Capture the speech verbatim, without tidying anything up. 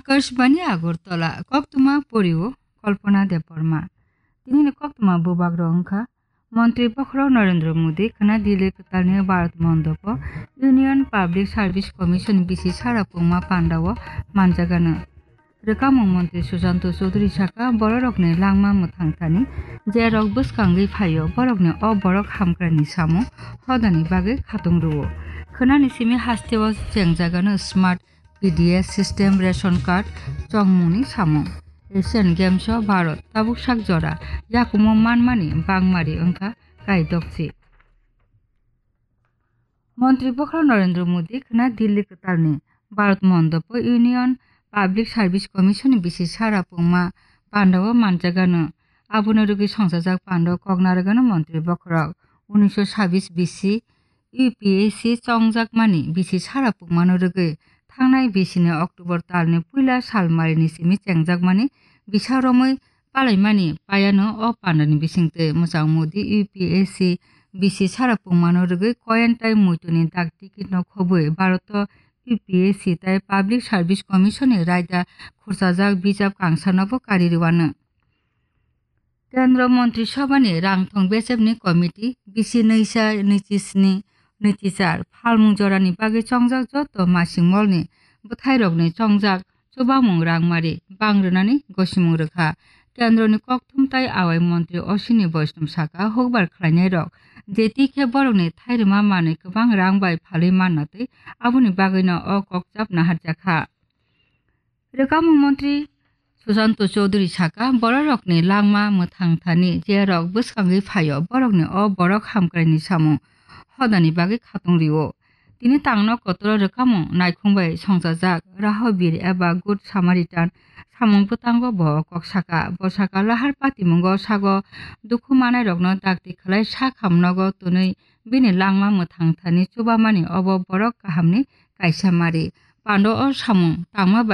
Akashbani Agartala, koktwma porio Kalpana Debbarma. Tinini koktwma bubagrok wngkha, Montri Bokhorok Narendra Modi khwna Delhi kwtalni Bharat Mondopo Union Public Service Commission bisi sara pungma pandao manjagano. Rwkamung Montri Susanto Chowdhury saka, bororokni langma mwthang thani jerok bwskangwi phaio, borokni o borok hamkraini samung hodani bagwi khatung rwo. Khwnani simi hasteo chengjagano smart P D S system, ration card, chongmungni samung. Asian Games o Bharat tabuk sak jora yakumo manmani bangmari wngkha kaidokchi. Montri Bokhorok Narendra Modi khwna Delhi kwtalni Bharat Mondopo Union Public Service Commission ni bisi sara pungma pandao manjagano. Abono rwgwi songchajak pandao kok narwgano Montri Bokhorok. Unisho sabis bisi U P S C chongjakmani bisi sara pungmano rwgwi thangnai bisini October talni puila salmarini simi chengjakmani bisa romwi palaimani payano o pandani bisingtwi mwchang Modi U P S C bisi sara pungmano rwgwi koyan tai muituni dak tikitno khobwi Bharat U P S C tai Public Service Commission ni raida khurchajak bijap kangsanobo kari rwano. Kendro Montri Sobhani rangthong bechepni committee bisi nwisa nwichisni nwicichar phalmung jorani bagwi chongjak joto masing molni bwthairokni chongjak chubamung rangmari bang rwnani gosimung rwkha. Kendroni kokthum tai awai montri Ashwini Vaishnaw saka, hukbar khlainairok je twi khe borokni thairwma manwi kwbang rang bai phalwi manna twi aboni bagwino o kokchap naharjakha. Rwkamung montri Susanto Chowdhury saka, bororokni langma mwthang thani jerok bwskangwi phaio, borokni o borok hamkraini samung hodani bagwi khatung rio. Tini tangno kotoro rwkamung naikhung bai songchajak Rahabir eba Good Samaritan samung bwtango bo kok saka. Bo saka lahar patimungo sago dukhu manairokno dakti khlai sak hamnogo twnwi bini langma mwthang thani chubamani obo borok kahamni kaisa mari. Pando o samung tangma bai